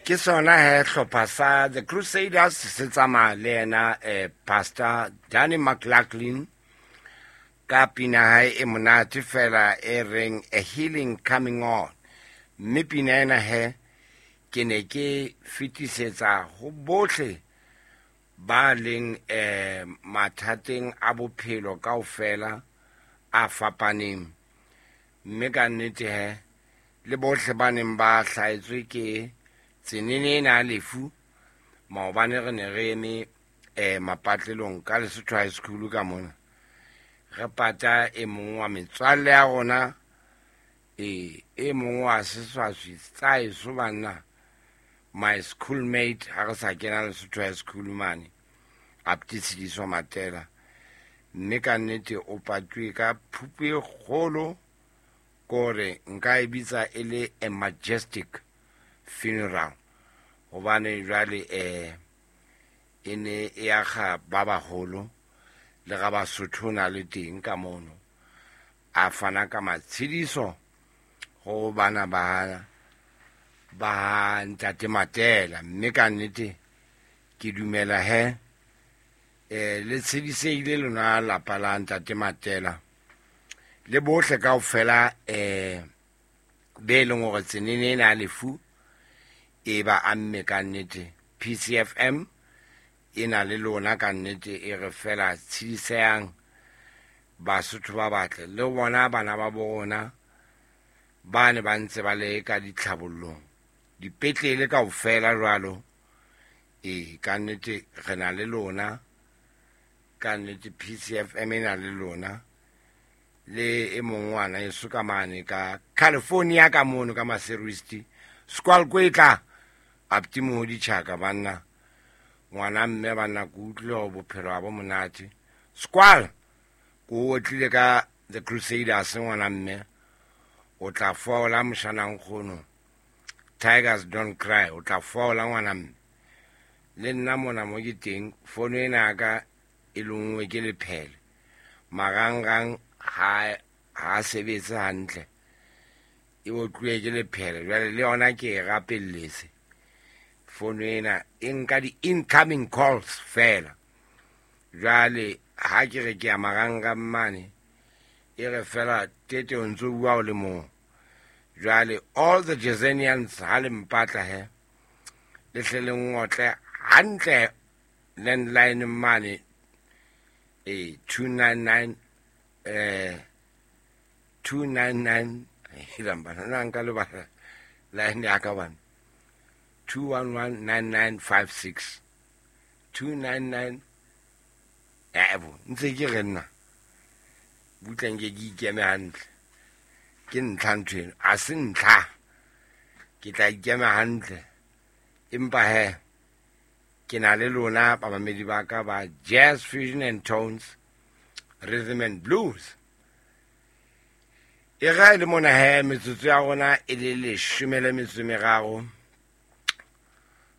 Ke sona he hlopha sa The Crusaders se tsamaya le yena Pastor Danny McLaughlin ka pina hae e monate fela e reng A Healing Coming On. Mme pina ena he ke ne ke fetisetsa ho bohle ba leng mathateng a bophelo kaofela a fapaneng. Mme ka nnete he le bohle ba neng ba hlahetswe ke tsenene ena ya lefu maobane re ne re eme mapatlelong ka Lesotho High School ka mona re pata e mong wa metswalle ya rona e mong wa seswaswi tsa eso banna, my schoolmate ha re sa kena Lesotho High School mane, Apti Tshediso Matela. Mme ka nnete o patuwe ka phupu e kgolo, kore nka e bitsa e le a majestic funeral, hobane jwale e ne e akga ba baholo le ga Basotho na le teng ka mono, a fana ka matshediso ho bana ba ntate Matela. Mme ka nnete ke dumela he le tshediseile lona lapa la ntate Matela le bohle kaofela be leng hore tsenene ena ya lefu e ba amme ka nnete. PCFM e na le lona ka nnete, e re fela tshedisehang Basotho ba batle le bona bana ba bona ba ne ba ntse ba le ka ditlhabollong dipetlele kaofela jwalo. Ka nnete re na le lona ka nnete, PCFM e na le lona le e mong ngwana eso ka mane ka California ka mono ka Maseruisti Squal Kwetla Apti Mohodi Chaka banna ngwana mme banna ke utlwile hore bophelo ha bo monate. Squal ko o tlile ka The Crusaders ngwana mme o tla fola moshana nkgono, Tigers Don't Cry, o tla fola ngwana mme. Le nna mona mo ke teng fono ena ya ka e lengwe ke lephele marangrang ha sebetse hantle, e otluwe ke lephele jwale le yona ke e rapelletse fono ena e nka di-incoming calls fela. Jwale ha ke re ke ya marangrang mane e re fela tete o ntso bua o le mong. Jwale all the Jezenians ha le mpatla he le hle le ngotle hantle landline mane 299 299 bana na nka le bana line ya ka bana 2119956 299 ebo ntse ke re nna butleng ke ikeme hantle ke ntlha ntho eno a se ntlha ke tla ikema hantle empa he ke na le lona bamamedi ba ka ba Jazz Fusion and Tones Rhythm and Blues. E ga le mona he metsotso ya rona e le 13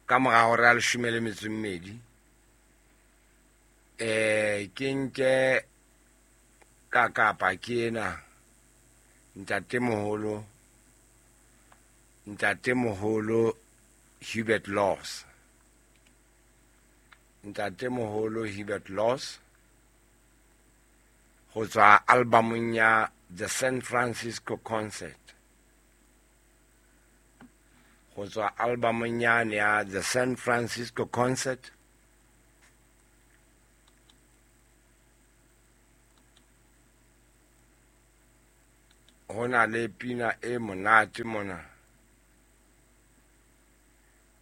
ka mora hora ya 12. Ke nke ka kapa ke ena ntatemoholo Hubert Laws. Ntatemoholo Hubert Laws ho tswa albumong ya The San Francisco Concert. Ho tswa albumong ya The San Francisco Concert. Ho na le pina e monate mona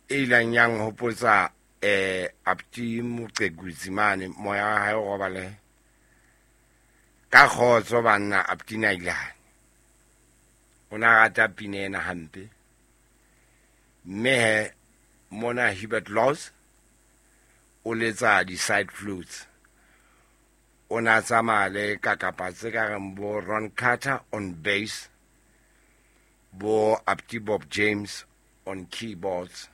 e ileng ya nhopotsa Apti Moqekutsi mane moya wa hae o robale ka kgotso banna. Apti Nailane o na rata pina ena hampe, mme he mona Hubert Laws o letsa di-side flutes, o na tsamaya le kakapa tse ka reng bo Ron Carter on bass, bo Apti Bob James on keyboards.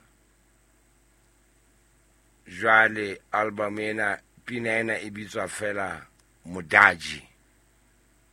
Jwale album ena pina ena e bitswa fela Modaji.